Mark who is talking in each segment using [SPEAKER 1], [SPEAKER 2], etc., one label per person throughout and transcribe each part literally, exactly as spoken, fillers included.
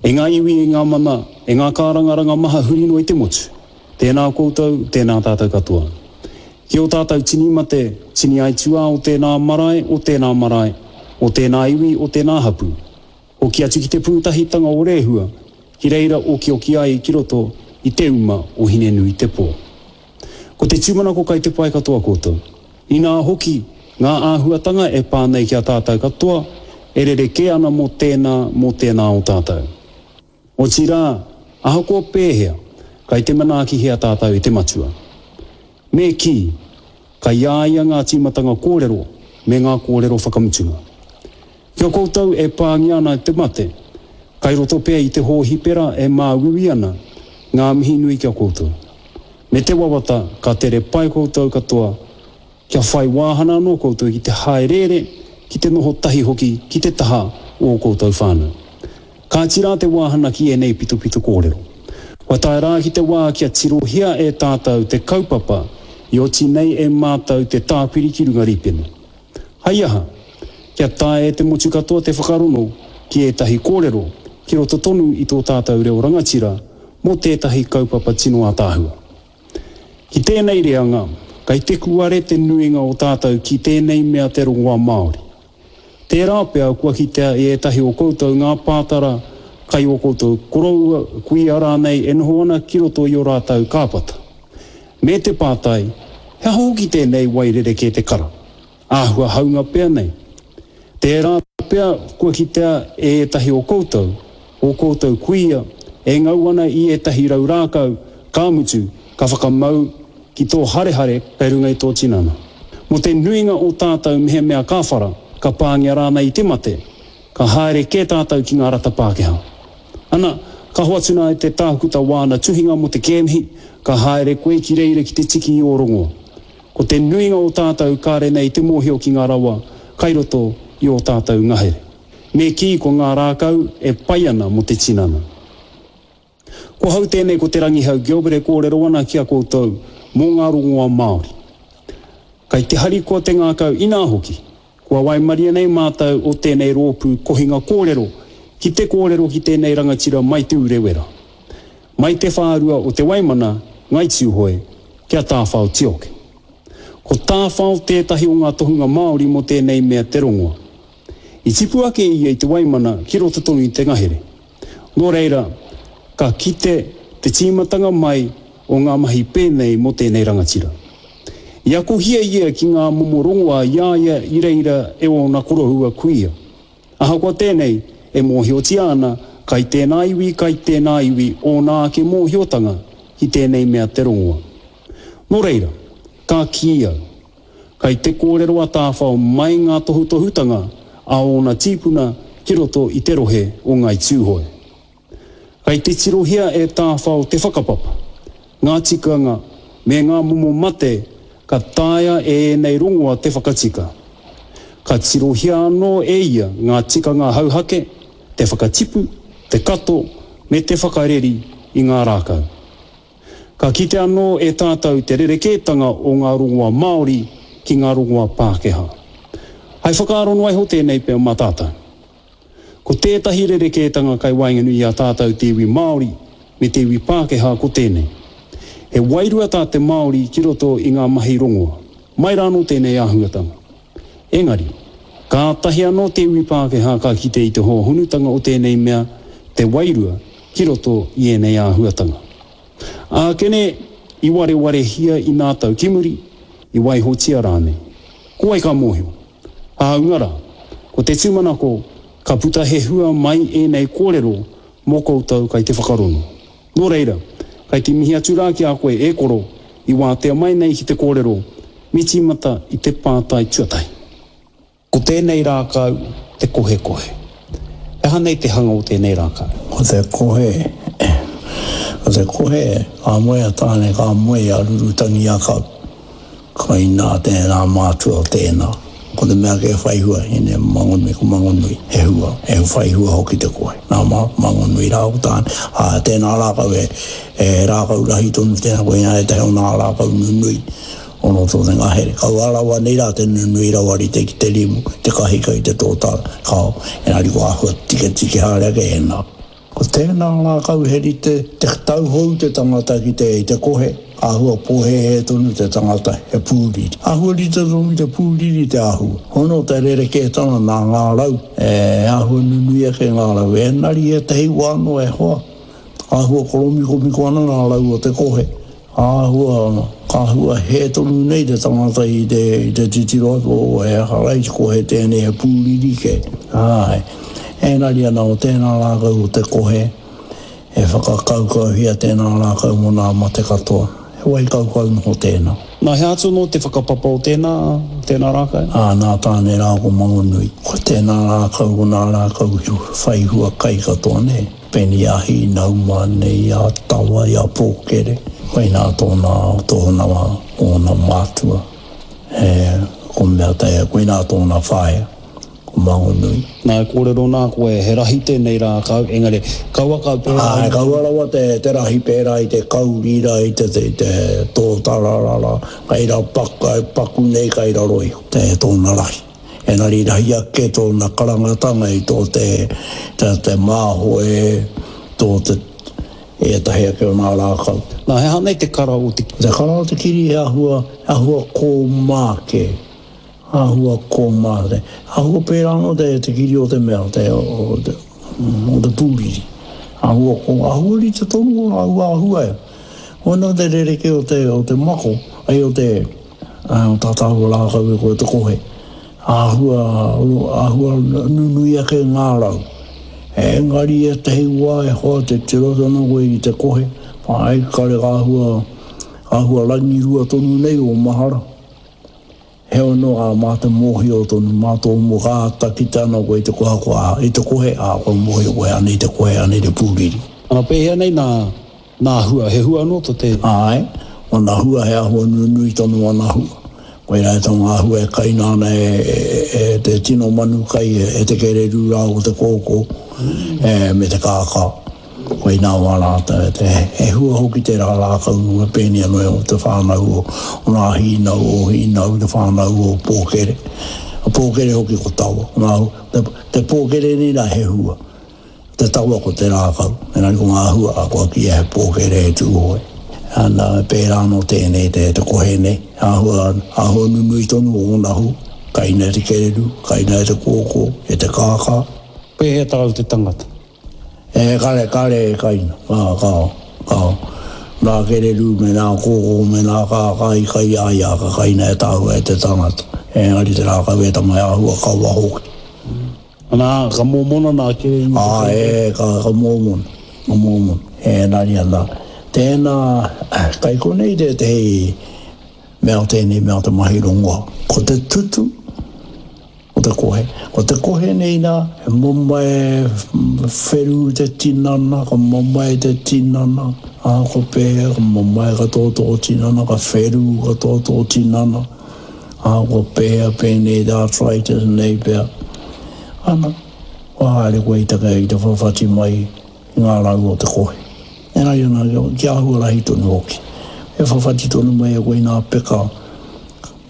[SPEAKER 1] E ngā iwi, e ngā mana, e ngā kārangaranga maha huri noa i te motu. Tēnā koutou, tēnā tātou katoa. Ki ō tātou tini mate, tini aituā o tēnā marae, o tēnā marae, o tēnā iwi, o tēnā hapū. Hoki atu ki te pūtahitanga o Rehua, ki reira okioki ai ki roto i te uma o Hinenuitepō. Ko te tūmanako kai te pai katoa koutou. Inā hoki, ngā āhuatanga e pā nei ki a tātou katoa, e rerekē ana mō tēnā, mō tēnā o tātou. Otirā, ahakoa pēhea, kai te manaakihia tātou e te Matua. Me kī, kai a ia ngā tīmatanga kōrero me ngā kōrero whakamutunga. Ki a koutou e pāngia ana e te mate, kai roto pea i te hōhipera e māuiui ana, ngā mihi nui ki a koutou. Me te wawata ka tere pai koutou katoa, kia whai wāhana anō koutou ki te hāereere, ki te noho tahi hoki ki te taha o ō koutou whānau. Kāti rā te wāhana ki ēnei pitopito kōrero. Kua tae rā ki te wā kia tirohia e tātou te kaupapa i oti nei e mātou te tāpiri ki runga rīpene. Hai aha? Kia taea e te motu katoa te whakarongo ki ētahi kōrero ki roto tonu i tō tātou reo rangatira mō tētahi kaupapa tino ātaahua. Ki tēnei reanga, kei te kuare te nuinga o tātou ki tēnei mea te rongoā Māori. Tērā pea kua kitea e ētahi o koutou ngā pātara kai ō koutou koroua, kuia rānei e noho ana ki roto i ō rātou kāpata. Me te pātai, he aha hoki tēnei wai rerekē te kara? Āhua haunga pea nei. Tērā pea kua kitea e ētahi o koutou, ō koutou kuia, e ngau ana i ētahi rau rākau, ka mutu, ka whakamau ki tō harehare kei runga i tō tinana. Mō te nuinga o tātou mehemea ka whara, ka pāngia rānei i te mate, ka haere kē tātou ki ngā rata Pākehā. Ana, ka hoatu nā e te tākuta wāna tuhinga mō te kēmihi, ka haere koe ki reira ki te tiki i ō rongoa. Ko te nuinga o tātou kāre nei te mōhio ki ngā rawa kai roto i ō tātou ngahere. Me kī ko ngā rākau e pai ana mō te tinana. Ko hau tēnei ko Te Rangihau Gilbert e kōrero ana ki a koutou mō ngā rongoā Māori. Kai te harikoa te ngākau inā hoki, kua waimaria nei mātou o tēnei rōpū kohinga kōrero ki te kōrero ki tēnei rangatira mai Te Urewera, mai te whārua o Te Waimana, Ngai Tūhoe, ki a Tāwhao Tioke. Ko Tāwhao tētahi o ngā tohunga Māori mō tēnei mea te rongoa. I tipu ake ia i Te Waimana ki roto tonu i te ngahere. Nō reira, ka kite te tīmatanga mai o ngā mahi pēnei mō tēnei rangatira. I akohia ia ki ngā momo rongoā i a ia i reira e ōna koroua kuia. Ahakoa tēnei, e mōhiotia ana kai tēnā iwi, kai tēnā iwi ōna ake mōhiotanga ki tēnei mea te rongoa. Nō reira, ka kī au, kai te kōrero a Tāwhao mai ngā tohutohutanga a ōna tīpuna ki roto i te rohe o Ngāi Tūhoe. Kai te tirohia e Tāwhao te whakapapa, ngā tikanga me ngā momo mate ka taea e ēnei rongoa te whakatika. Ka tirohia anō e ia ngā tikanga hauhake, te whakatipu, te kato me te whakareri i ngā rākau. Ka kite anō e tātou te rerekētanga o ngā rongoa Māori ki ngā rongoa Pākehā. Hai whakaaro noa iho tēnei pea mā tātou. Ko tētahi rerekētanga kai waenganui i a tātou te iwi Māori me te iwi Pākehā ko tēnei. He wairua tā te Māori ki roto i ngā mahi rongoa. Mai rānō tēnei āhuatanga. Engari, kātahi anō te iwi Pākehā ka kite i te hōhonutanga o tēnei mea, te wairua, ki roto i ēnei āhuatanga. Ākene, i warewarehia i nā tau ki muri, i waihotia rānei. Ko wai ka mōhio? Hāunga rā, ko te tūmanako, ka puta he hua mai ēnei kōrero mō koutou kai te whakarongo. Nō reira, kai te mihi atu rā ki a koe e koro, i wātea mai nei ki te kōrero, me tīmata i te pātai tuatahi. Ko tēnei rākau te kohekohe. He aha nei te hanga o tēnei rākau?
[SPEAKER 2] Ko te kohe, ko te kohe, ka moe a Tāne, ka moe a Rurutangiakau. Koinā tēnā mātua o tēnā. Ko te mea kei whai hua, ine Mangonui, ko Mangonui, he hua, he whai hua hoki te kohe. Nā ma, Mangonui rā ko Tāne. Ā, tēnā rākau he, he rākau rahi tonu tēnā, koinā ētahi o nā rākau nunui o roto o te ngahere. Kaua rawa nei rā te nunui rawa rite ki te rimu, te kahika i te tōtara, kao, engari ko āhua tiketike haere ake ēnā. Ko tēnā rākau he rite te tauhou te tangata ki te, i te kohe, āhua pōhēhē tonu te tangata, he pūriri. Āhua rite tonu ki te pūriri te āhua. Hono te rerekētanga nā ngā rau, e āhua nunui ake ngā rau. Engari ētahi wā anō e hoa, āhua koromikomiko ana ngā rau o te kohe. Āhua, āhua hē tonu nei te tangata i te, i te titiro atu, o he aha rai te kohe tēnei, he pūriri kē. Āe. Engari ana o tēnā rākau o te kohe, e whakakaukauhia tēnā rākau mō nā mate katoa. He wai kaukau noho tēnā.
[SPEAKER 1] Nā, he atu anō te whakapapa o tēnā, tēnā rākau?
[SPEAKER 2] Ā, nā Tāne rā ko Mangonui. Ko tēnā rākau, ko nā rākau whai hua kai katoa, nē. Pēnei a Hīnauma, nei a Tawa, i a Pōkere. Koinā tōna, tōna, ōna mātua. E, ko mea te, koinā tōna whaea, ko Mangonui.
[SPEAKER 1] Nā, e kōrero nā koe, he rahi tēnei rākau, engari, kaua kau pērā
[SPEAKER 2] i. Āe, kaua rawa te, te rahi pērā i te kauri rā, i te, i te tōtara rā, kai ra paku, paku nei kai raro iho, te, tōna rahi. Engari rahi ake tōna karangatanga i tō te, te, te māhoe, tō te, ētahi ake o ngā rākau.
[SPEAKER 1] Nā, he aha nei te kara o te.
[SPEAKER 2] Te kara o te kiri he āhua, he āhua kōmā kē. Āhua kōmā te. Āhua pērā anō te, te kiri o te mea, te, o te, o te pūriri. Āhua kō, āhua rite tonu o rāua āhua e. Koinā te rerekē o te, o te mako, ai o te, o tā tāua rākau e koe te kohe. Āhua, āhua nunui ake ngā rau. Engari ētahi wā e hoa te tiro ana koe i te kohe, ai kare āhua, āhua rangirua tonu nei o mahara. Heoi anō, ā, mā te mōhio tonu, mā tō mō ka āta kite ana koe i te kohakoha, i te kohe, ā, kua mōhio koe anei te kohe, anei te pūriri.
[SPEAKER 1] Ana pēhea nei nā, nā hua, he hua anō tō te.
[SPEAKER 2] Āe, ōna hua he āhua nunui tonu ōna hua. Koirā e tō ngā hua e kaina ana e, e, e te tino manu kai, e te kererū rā o te kōkō, e, me te kākā. Koinā wā rātou, te, he hua hoki tērā rākau e pēnei anō e o te whānau o, o ngā hīnau, o hīnau, te whānau o Pōkere. A Pōkere hoki ko Tawa. Ngā, te, te pōkere nei rā he hua. Te tawa ko te rākau, engari ko ngā hua a kua kīia he pōkere he tūhoe. Ana, pērā anō tēnei te, te kohe nei, āhua, āhua nunui tonu o ōna hua, kaina e te kererū, kaina e te kōkō, e te kākā.
[SPEAKER 1] Pēhea tāu te tangata?
[SPEAKER 2] E, kare, kare e kaina, ka, ka, ka, nā kererū me nā kōkō me nā kākā i kai a ia, ka kaina e tāua e te tangata. Engari te rākau e tama he āhua kawa hoki.
[SPEAKER 1] Ana, ka mōmona nā kererū te
[SPEAKER 2] Ā, e, ka, ka mōmona, ka mōmona. Engari ana, tēnā, kai konei tētehi mea o tēnei mea o te mahi rongoa. Ko te tutu o te kohe. Ko te kohe nei nā, he mamae wheru te tinana, ka mamae te tinana, ā, ko pēhea, ka mamae katoa tō tinana, ka wheru katoa tō tinana, ā, ko pēhea pēnei te arthritis nei pea. Ana, kua haere koe i te, i te whawhati mai i ngā rau o te kohe. Engari ana, kia āhua rahi tonu hoki. E whawhati tonu mai e koe i ngā peka,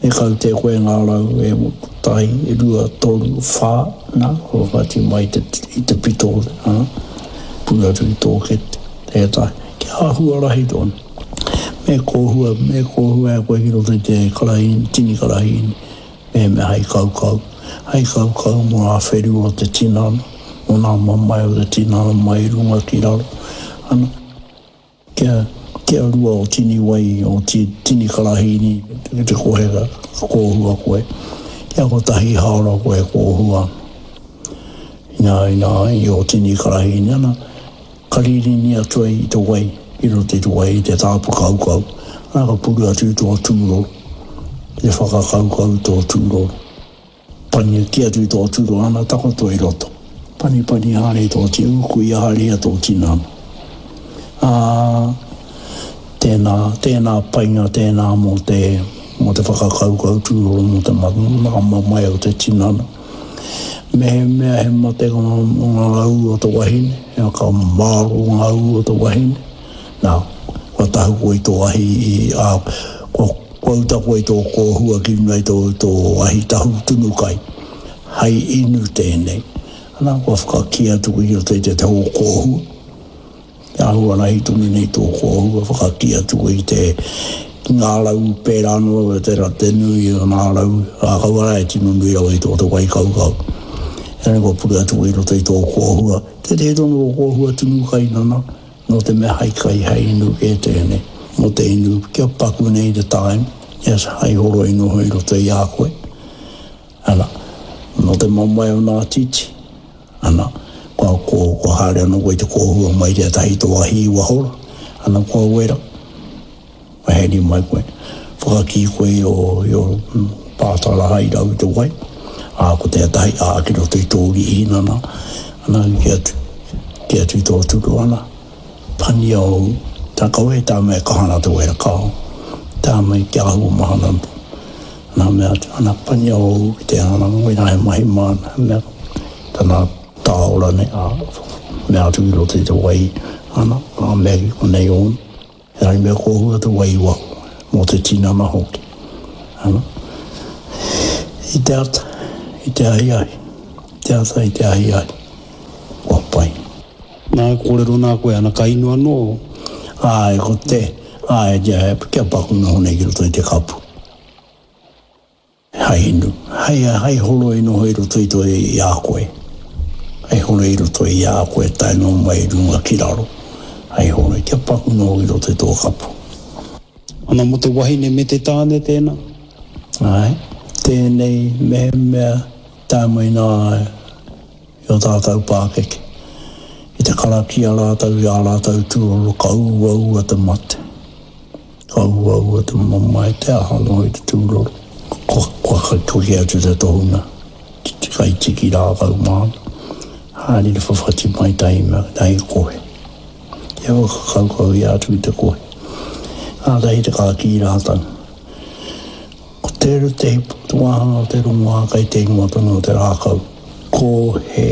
[SPEAKER 2] e kaute koe ngā rau e kotahi, e rua, toru, whā, nā, kua whawhati mai te, i te pito, ā, puru atu i tō kete, tētahi, kia āhua rahi tonu. Me kōhua, me kōhua e koe ki roto i te karahīni, tini karahīni. Mehemea hei kaukau, hei kaukau mō ngā wheru o te tinana, mō ngā mamae o te tinana mai i runga ki raro, ana, kia, kia rua o tini wai, o ti, tini karahīni, ki te kohe ka kōhua koe, kia kotahi hāora koe e kōhua ana. Inā, inā, i ō tini karahīni, ana, ka ririni atu ai i te wai, i roto i te wai, i te tāpu kaukau, ana ka puru atu i tō tūroro, ki te whakakaukau i tō tūroro. Pani ki atu i tō tūroro, ana takoto i roto. Panipani haere i tō ti, ūkui haere ia tō tinana. Ā, tēnā, tēnā painga tēnā mō te, mō te whakakaukau tūroro, mō te ngā mamae o te tinana. Mehemea he mate ngā ū o te wahine, ka mārō ngā ū o te wahine, nā, kua tahu koe i tō ahi, ā, kua, kua uta koe i tō kōhua ki runga i tō, tō ahi tahu tunu kai, hei inu tēnei. Ana, kua whakakī atu koe ki roto i te, te hō kōhua. Te āhua rahi tonu nei tō kōhua whakakī atu koe i te ki ngā rau pērā noa te, te nui o ngā rau, ā, kaua rā e tino nui rawa i tō te wai kaukau. Engari kua pure atu koe i roto i tō kōhua. Tētehi tonu o kōhua tunu kai nana, nō te mea hai kai, hai inu kē tēnei. Mō te inu, kia paku nei te time, yes, hai horoi noho i roto i a koe. Ana, nō te mamae o nā titi, ana, kua, kua, kua haere anō koe i te kōhua mai tētahi tō ahi i waho rā, ana, kua wera, kua heri mai koe, whakakī koe i ō, i ō pātara hai rau i te wai, ā, ko tētahi, ā, ki roto i tō rīhi nana, ana, ki atu, ki atu i tō turu, ana, pania ōu, tā kaua e tā mea e kaha ana te wera, kāo, tā mai kia āhua mahana anō. Ana mea atu, ana pania ōu ki te ana, koinā he mahi māna, he mea, tana tāora nei, ā, mea atu i roto i te wai, ana, ā, mea ki konei ōna. Engari mea kōhua te wai i waho, mō te tinana hoki. Ana, i te ata, i te ahiahi, i te ata, i te ahiahi, kua pai.
[SPEAKER 1] Nā, kōrero nā koe, ana, ka inu anō.
[SPEAKER 2] Āe, ko te, āe, kia, kia paku noho nei ki roto i te kapu. Hai inu, hai, hai horoi noho i roto i to i a koe. Hai horoi i roto i a koe tae noa mai i runga ki raro. Hai horoi, kia paku noho i roto i tō kapu.
[SPEAKER 1] Ana mō te wahine me te tāne tēnā?
[SPEAKER 2] Āe, tēnei mehemea tae mai nā i o tātou pākeke. I te karakia rātou i ā rātou tūroro ka uaua te mate. Ka uaua te mamae, te aha noa i te tūroro. Kua, kua kake atu te tohunga ki te kaitiki rākau māna. Haere te whawhati mai tahi mea, tahi kohe. Kia whakakaukau ia atu i te kohe. Kātahi te kākī rātou. Ko tērā te hipa, te wāhanga o te rongoā kai te ingoa tonu o te rākau. Kohe.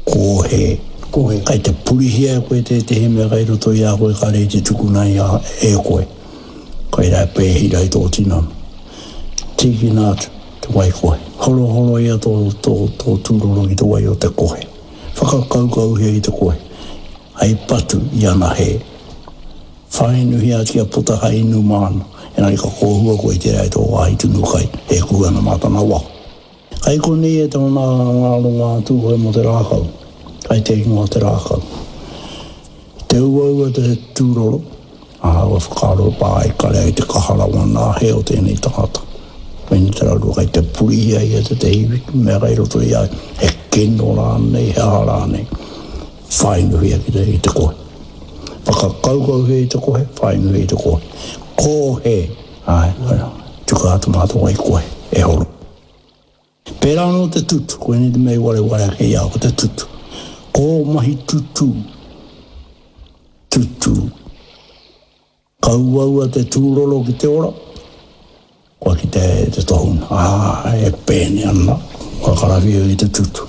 [SPEAKER 2] Kohe.
[SPEAKER 1] Kohe.
[SPEAKER 2] Kai te purihia e koe tētehi mea kai roto i a koe kāre i te tukuna i a e koe. Kai rā e pēhira i tō tinana. Tīkina atu te wai kohe. Horohoroia tō, tō, tō tūroro ki te wai o te kohe. Whakakaukauhia i te kohe. Hei patu i ana hē. Whāinuhia atu kia puta hai inu māna. Engari ka kōhua koe i tērā i tō wāhi tunu kai, e kuhu ana mā tana waho. Kai konei e tōna ngā rongoā Tūhoe mō te rākau, kai te ingoa o te rākau. Te uaua te tūroro, ā, kua whakaaro pā ai kare ai te kaha rawa nā hē o tēnei tangata. Koinei te rarua kai te purihia ia tētehi mea kai roto i a ia, he kino rānei, he aha rānei. Whāinuhia ki te, i te kohe. Whakakaukauhia i te kohe, whāinuhia i te kohe. Kohe! Āe, koe, tuka atu mā te wai kohe, e horo. Pērā anō te tutu, koinei te mea i wareware ake i a au, ko te tutu. Ko mahi tutū, tutū. Ka uaua te tūroro ki te ora, kua kite te tohunga, ā, e pēne ana, kua karawhiua i te tutu.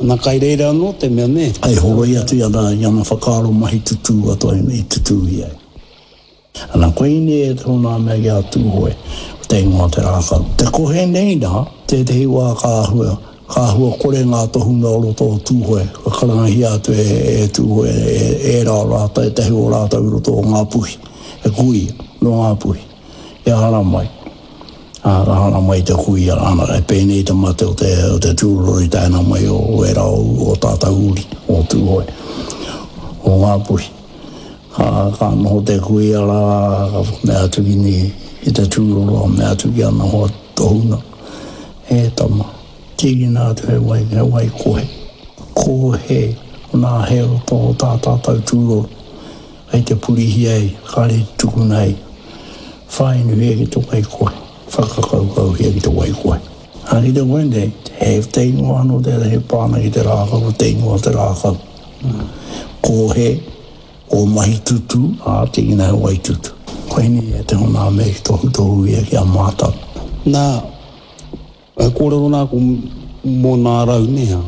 [SPEAKER 1] Ana kai reira anō te mea, nē?
[SPEAKER 2] Hei horoi atu i ana, i ana whakaaro mahi tutū katoa i tutū ia. Ana koinei e tōna mea ki a Tūhoe, ko te ingoa o te rākau. Te kohe nei nā, tētehi wā ka āhua, ka āhua kore ngā tohunga o roto o Tūhoe, ka karangahia atu e, e Tūhoe, e, ērā o rātou, ētehi o rātou i roto o Ngāpuhi, he kuia nō Ngāpuhi, kia haramai. Ā, ka haramai te kuia, ana, e pēnei te mate o te, o te tūroro i taena mai o, o ērā o, o tātou uri, o Tūhoe, o Ngāpuhi. Ka, ka noho te kuia rā, ka mea atu ki ni, ki te tūroro, ka mea atu ki ana hoa tohunga, E tama, tīkina atu he wai, he wai kohe. Kohe, nā he roto o tā tātou tūroro, kei te purihia ei, kāre i te tukuna ei. Whāinuhia ki te wai kohe, whakakaukauhia ki te wai kohe. Ā, ki te koe nei, he te ingoa anō tērā e pā ana ki te rākau, ko te ingoa o te rākau. Kohe, Ko mahi tutu, ā, tīkina he wai tutu. Koinei e te hona me tohutohu ia ki a mātou.
[SPEAKER 1] Nā, he kōrero nā ko mō nā rau, nē hā?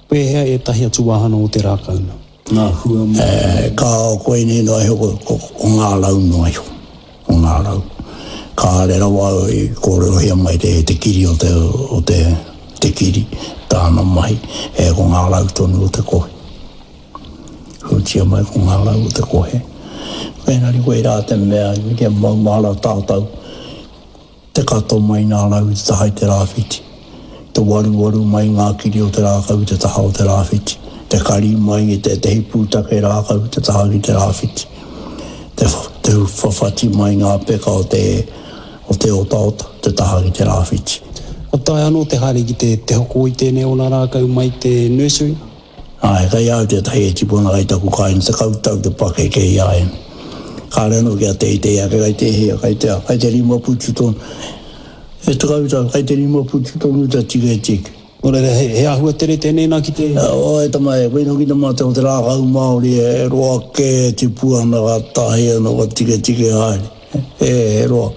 [SPEAKER 1] Pēhea ētahi atu wāhanga o te rākau nā? Ngā hua mō.
[SPEAKER 2] E, kāo, koinei noa iho, ko, ko, ko ngā rau noa iho. Ko ngā rau. Kāre rawa au i kōrerohia mai te, te kiri o te, o te, te kiri, tāna mahi, e, ko ngā rau tonu o te kohi. Mōhiotia mai ko ngā rau o te kohe. Engari koe rā te mea, kia maumahara tātou, te kato mai ngā rau i te taha i te rāwhiti, te waruwaru mai ngā kiri o te rākau i te taha o te rāwhiti, te kari mai i tētehi pūtake rākau i te taha ki te rāwhiti, te, te whawhati mai ngā peka o te, o te otaota, te taha ki te rāwhiti.
[SPEAKER 1] Ka taea anō te haere ki te, te hoko i tēnei o ngā rākau mai te nursery?
[SPEAKER 2] Āe, kei a au tētahi e tipu ana kei taku kāinga, tekau tau te pakeke i a ia. Kāre anō kia teitei ake, kei te hia, kei te, kei te rima putu tonu. E tekau tau, kei te rima putu tonu te tiketike.
[SPEAKER 1] Nō reira, he, he āhua tere tēnei nā ki te.
[SPEAKER 2] Oh, e tama e, koina hoki te mate o te rākau Māori, e roa kē e tipu ana, ka tahi anō, ka tiketike haere. E, he roa.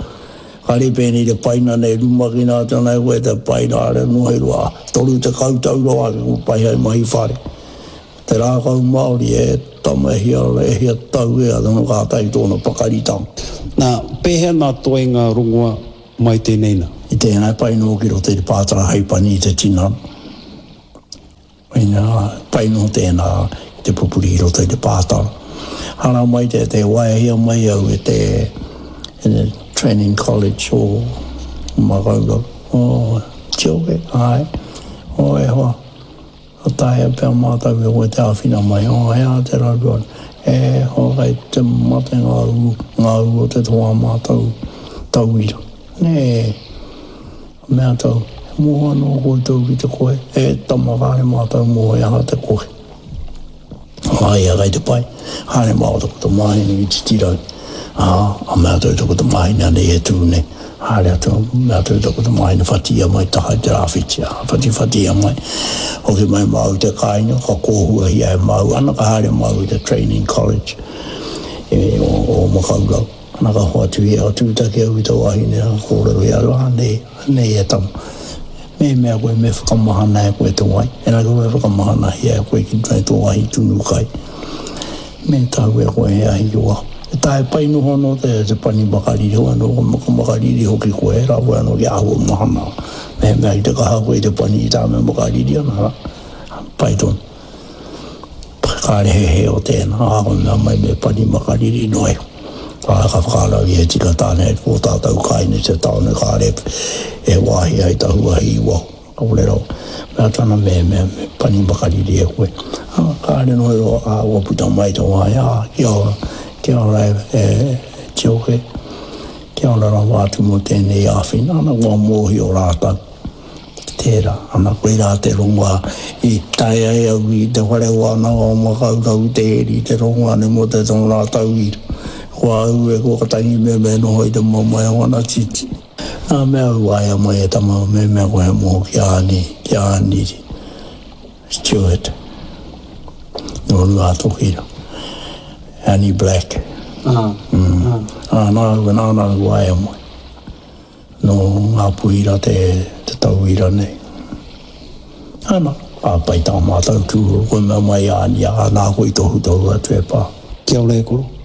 [SPEAKER 2] Kāre pēnei te paina nei, rumakina atu ana e koe te paina, kāre anō he roa, toru tekau tau rawa ake kua pai hai mahi whare. Te rākau Māori, e tama e hia, e hia tau e ana kātahi tōna pakaritanga.
[SPEAKER 1] Nā, pēhea nā toenga rongoa mai tēnei nā?
[SPEAKER 2] I tēnā e pai noa ki roto i te pātara hei pani i te tinana. Ina, pai noa tēnā ki te pupuri i roto i te pātara. Hara mai te, te waehia mai au e te, e te Training College o Makaurau. Oh, Tioke, āe. Oh, e hoa, ka taea pea mātou e koe te āwhina mai. Oh, he aha te raru ana? E hoa, kei te mate ngā ū, ngā ū o te toa mātou tauira. Nē, ka mea tau, he moho anō koutou ki te kohe? E tama, kāre mātou moho he aha te kohe. A ia kei te pai, haere māua taku tamāhine ki Titirangi. Ā, a mea atu taku tamāhine anei e tū nei. Haere atu, mea atu taku tamāhine whatiia mai taha i te rāwhiti, ā, whatiwhatiia mai. Hoki mai māua i te kāinga, ka kōhuahia e māua, ana ka haere māua i te Training College e, o, o Makaurau. Ana ka hoatu ia, ka tūtaki au i te wahine, ka kōrero ia, anei, anei e tama. Me mea koe me whakamahana e koe te wai, engari kua e whakamahanahia e koe ki runga i tō ahi tunu kai. Me tahu e koe he ahi ki waho. E tae pai noho anō te, te pani makariri, hoi anō ka makariri hoki koe, he rawe anō kia āhua mahana. Mehemea ki te kaha koe i te pani i tā me makariri ana, pai tonu. Kāre he hē o tēnā, ā, ko mea mai me pani makariri noa iho. Ā, ka whakaarau ia he tika tāne hei kō tātou kāinga i te tāone kāre e wāhi ai tahu ahi i waho. Kāore rawa. Mea atu ana me, me, me pani makariri e koe. Ā, kāre noa iho, ā, kua puta mai te wāhi, ā, kia ora, kia ora e, e, e Tioke, kia ora rawa atu mō tēnei āwhina, ana kua mōhio rātou. Tērā, ana koirā te rongoā i tae ai au i te whare wānanga o Makaurau i te heri i te rongoā nei mō te tōna tauira. Ko au e kua tangi me me noho i te mamae o ana titi. Nā mea au waea mai e tama me mea koe he moho ki a Ani, ki a Aniri Stewart nō Ruātoki rā. Annie Black.
[SPEAKER 1] Ah,
[SPEAKER 2] mm.
[SPEAKER 1] ah.
[SPEAKER 2] Ā, nā au, nāna au waea mai. Nō Ngāpuhi rā te, te tauira nei. Ana, ka pai tā mātou tūhura, koe mea mai a Ania, nā koe i tohutohu atu e pā.
[SPEAKER 1] Kia ora e koro.